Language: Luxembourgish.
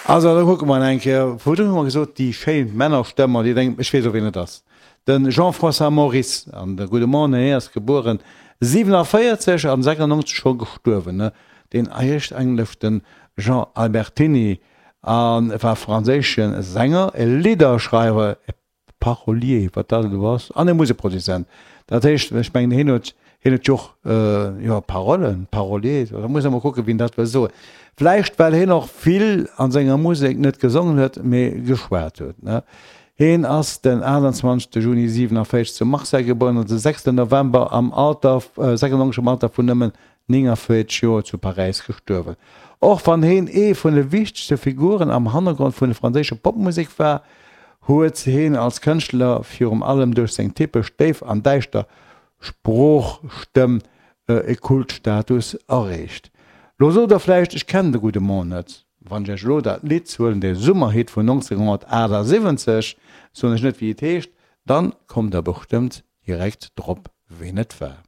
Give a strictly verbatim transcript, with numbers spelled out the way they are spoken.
Also da kucke mer eng Kéier. Virdrun hu mer gesot, déi schéin Männerstëmm, an Dir denkt, ech weess och, wien et ass, de Jean-François Maurice. An de gudde Mann, hien ass gebueren siwenavéierzeg an sechsundneunzeg scho gestuerwen, ne? Deen heescht eigentlech de Jean Albertini a war franséische Sänger, e Lidderschreiwer, e Parolier, wat dat elo ass, an e Musekproduzent. Dat heescht, ech mengen, hien huet, hien huet jo och, jo, Parolen, Parolier, da muss ee mol kucken, wien dat wëll soen. Vläicht well hien och vill a senger Musek net gesongen huet, mee geschwat huet, ne? Hien ass den aachtundzwanzegste Juni siewenundvierzig zu Marseille geboren an de sechsten November am Alter, sechsundneunzeg am Alter vun nëmmen néngundvierzeg Joer zu Paräis gestuerwen. Och wann hien ee vun de wichtegste Figuren am Hannergrond vun der franséischer Popmusek war, huet hien als Kënschtler virum allem duerch seng typesch déif an däischter Sproochstëmm e Kultstatus erreecht. Lo sot der vläicht, ech kennen de gudde Mann net. Wann ech iech elo dat Lidd huelen, dee Summerhit vun neunzehnhundertachtundsiebzig, soen ech net wéi et heescht, dann kommt der bestëmmt direkt drop ween et war.